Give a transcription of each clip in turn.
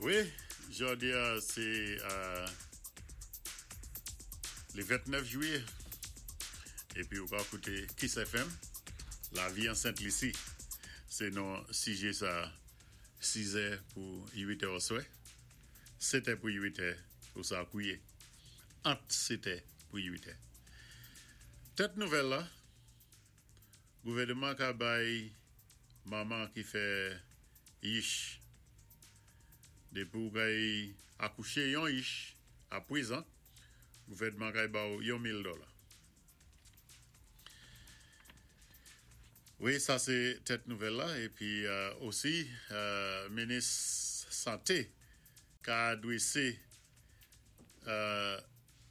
Wi, jòdi a sé le 29 jwiyé épi ou ka kouté Kiss FM, Lavi an Sent Lisi sé non sijé sa, 6 è pou 8 è oswè, 7 è pou 8 è ou sa kouye, ant 7 è pou 8 è. Tèt nouvèl la, Gouvèneman ka bay manman ki fè yich. Dépi ou kay akouché yon yich a pwézan, gouvèdman kay ba ou yon 1000 dòla. Wi, sa sé tèt nouvèl la. Épi osi minis santé ka adwésé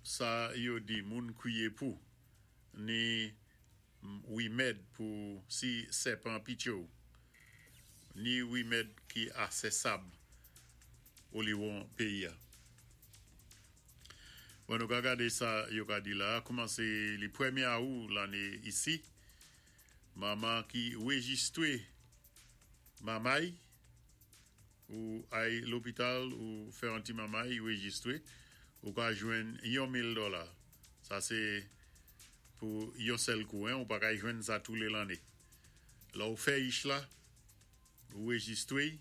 sa yo di moun kwiyé pou ni wimèd pou si sèpan pitye w, ni wimèd ki asèsab oliwon péyi a. Bon, nou ka gadé sa yo ka di la a, koumansé li pwémyé awou lanné isi, manman ki wéjistwé mamay, Ou ay lopital ou fè yon ti mamay rejistre, ou ka jwenn yon 1000 dòla. Sa se pou yon sèl kou hein, ou pa kay jwenn sa tou le lanne. Lè ou fè ich la, ou rejistre y,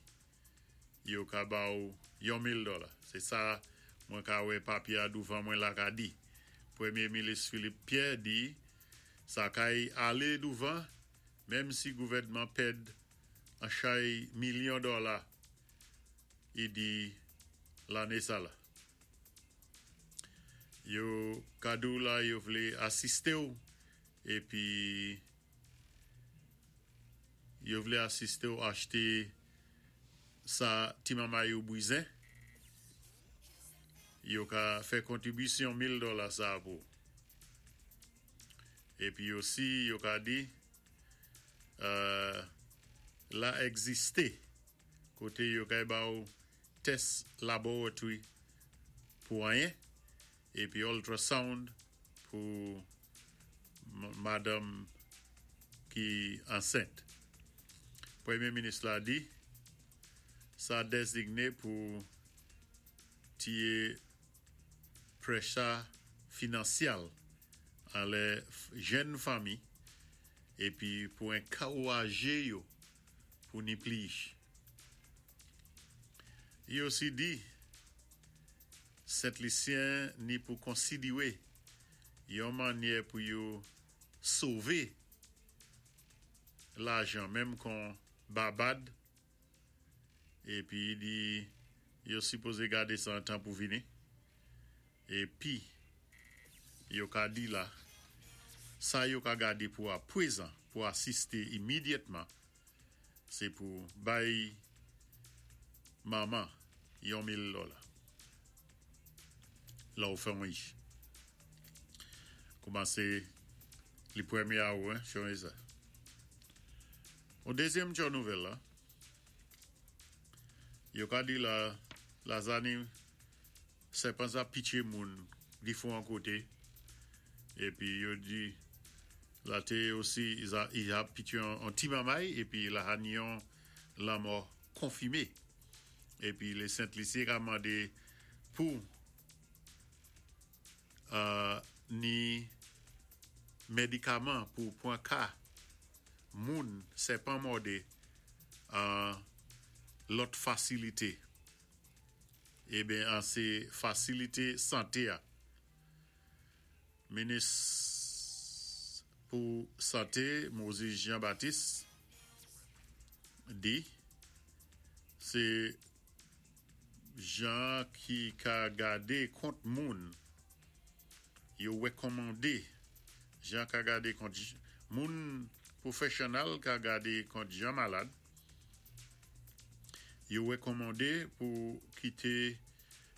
yo ka ba ou yon 1000 dòla. Se sa mwen ka wè papye a douvan mwen la ka di. Premye milis Philippe Pierre di sa kay ale douvan menm si gouvèdman pèd an chay milyon dòla i di lanné sa la. Yo ka di w la yo vlé asisté w épi yo vlé asisté w achté sa ti mamay ou bwizen, yo ka fè kontribisyon 1000 dòla sa pou ou. Épi osi yo ka di La egziste kote yo kay ba ou tès laboratory pou anyen epi ultrasound pou madanm ki ansent. Premye minis la di sa dezigne pou tiye pressure finansyal anlè jenn fanmi épi pou enkourajé yo pou ni plis. I osi di Sent Lisyen ni pou konsidiwé yon mannyè pou yo sové lajan menm kon Babad épi i di yo sipozé gadé sa an tan pou vini. Épi yo ka di la sa yo ka gadé pou apwézan pou asisté imidyètman sé pou bay manman yon 1000 dòla lè ou fè yon ich. Koumansé li pwémyé awou hein chonjé sa. Yon dézyèm tjo nouvèl la yo ka di la lazani Sèpan sa pitye moun difwan koté épi yo di la té osi i ap pitye on ti mamay épi la ha ni yon lanmò konfimé épi lé Sent Lisi ka mandé pou ni medikaman pou pwan ka moun sèpan mòdé an lòt fasilité. Eben an se fasilite sante a. Minis pou sante Moise Jean Baptiste di se jan ki ka gade kont moun yo wekòmande jan ka gade kont moun pwofeshyonal ka gade kont jan malad. Yo rekòmande pou kite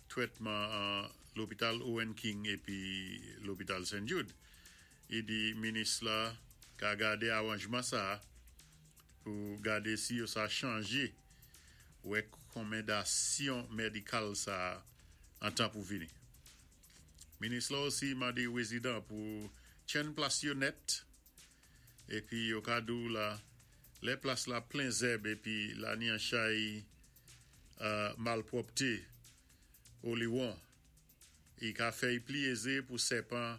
trètman an lopital Owen King epi lopital St. Jude. I di minis la ka gade aranjman sa a pou gade si yo sa chanje rekòmendasyon medikal sa a an tan pou vini. Minis la osi mande rezidan pou tchenn plas yo nèt Epi yo ka di w la, lè plas la plen zèb epi la ni an chay Malpwòpté oliwon, i ka fè'y pli ézé pou sèpan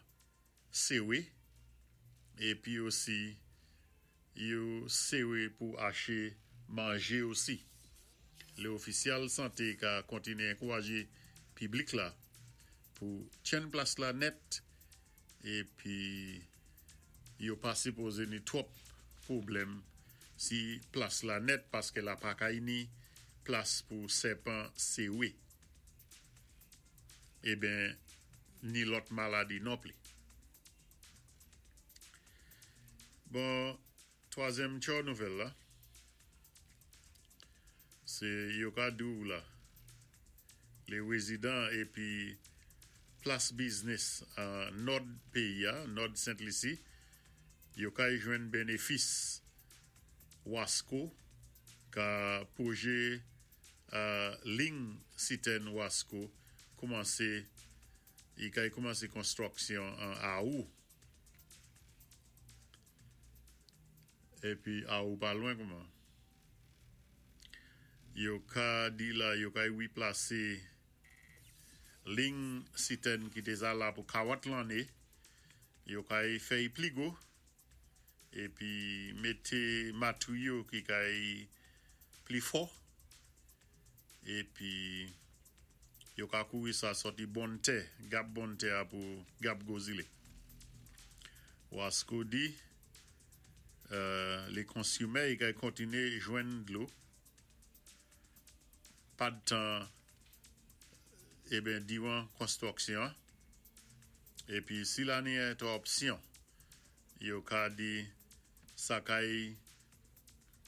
séwé épi osi yo séwé pou aché manjé osi. Lé ofisyal santé ka kontiné ankourajé piblik la pou tyenn plas la nèt épi yo pa sipozé ni twòp pwoblèm si plas la nèt paské la pa kay ni plas pou sèpan séwé eben ni lòt maladi nonpli. Bon, twazyèm tchò nouvèl la, sé yo ka di-w la, lé rézidan épi plas biznis an nòd péyi-a, nòd Sent Lisi, yo kay jwenn bénéfis Wasco ka pwojé lign sitèn Wasco koumansé i kay koumansé konstwiksyon an Awou. Épi Awou pa lwen kouman. Yo ka di la yo kay wiplasé lign sitèn ki té za la pou 40 lanné, yo kay fè'y pli gwo épi mété matéryo ki kay pli fò épi yo ka kouri sa sòti Bonn Tè, gap Bonn Tè a pou gap Gwo Zilé. Wasco di lé konsimè yo kay kontiné jwenn dlo padtan eben diwan konstwiksyon an épi si la ni entèwòpsyon yo ka di sa kay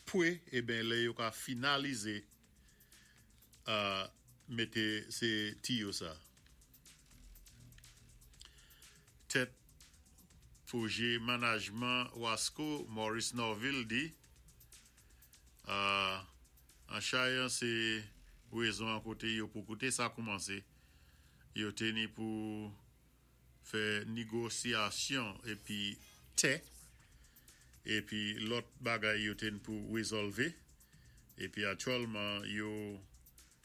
pwé eben lè yo ka finalizé mété sé tiyo sa. Tèt pwojé manajman Wasco Maurice Norville di an chayan sé wézon an koté yo pou koute sa koumansé yo té ni pou fè négosiyasyon épi tè épi lòt bagay yo té ni pou wézòlvé épi aktyèlman yo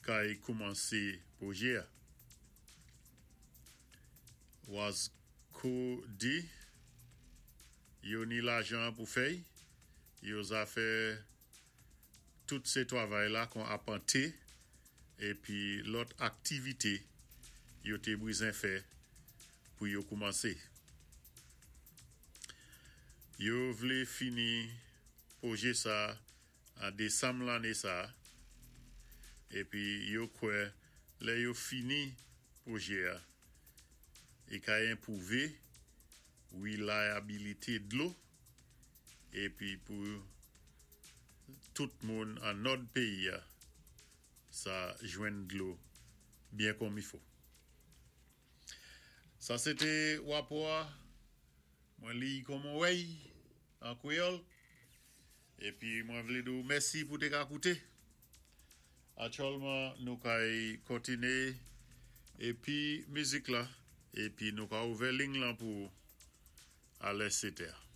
kay koumansé pwojé-a. Wasco di yo ni lajan pou fè'y, yo za fè tout sé twavay la kon apanté épi lòt aktivité yo té bwizen fè pou yo koumansé. Yo vlé fini pwojé sa an désanm lanné sa épi yo kwè lè yo fini pwojé-a i kay enpwouvé wilayabilité dlo épi pou tout moun an nòd péyi-a sa jwenn dlo byen kòmifo. Sa sé té wapò-a, mwen li'y kòm on wè'y an kwéyòl épi mwen vlé di-w mèsi pou té ka kouté. Aktyèlman nou kay kontiné épi mizik la épi nou ka ouvè lign lan pou alè 7 è.